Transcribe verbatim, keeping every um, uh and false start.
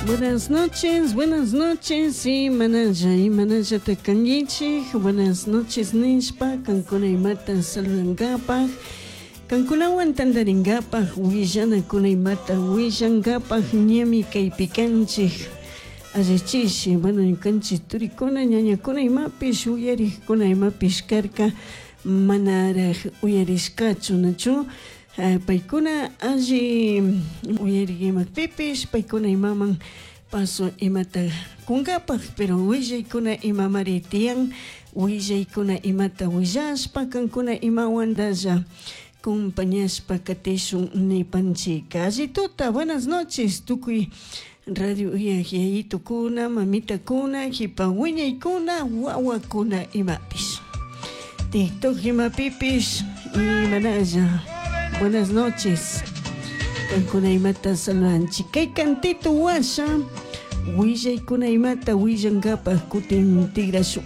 Buenas noches, buenas noches, y manalla, y manalla takangichik, buenas noches nishpa, kankuna imata saludankapaj, kankunawan tantarinkapaj, willanakuna imata willankapaj, ñami kaypi kanchik, allichishi, bueno, ñukanchik turikuna, ñañakuna imapish, uyarikkuna imapish karka, manaraj uyarishkachu, nachu? Paykuna alli uyarik imakpipish, paykuna imaman paso imata kunkapaj, pero willaykuna imamari tiyan, willaykuna imata willashpa, kankuna imawantalla compañashpa katishun nipanchika. Alli tuta, buenas noches, tukuy radio uyak yayitukuna, mamitakuna, jipa wiñaykuna, wawakuna imapish. TikTok imapipish, imanalla. Buenas noches. Kankuna imata saludanchik. Kay cantito washa, willaykuna imata willankapaj kutin tigrashun.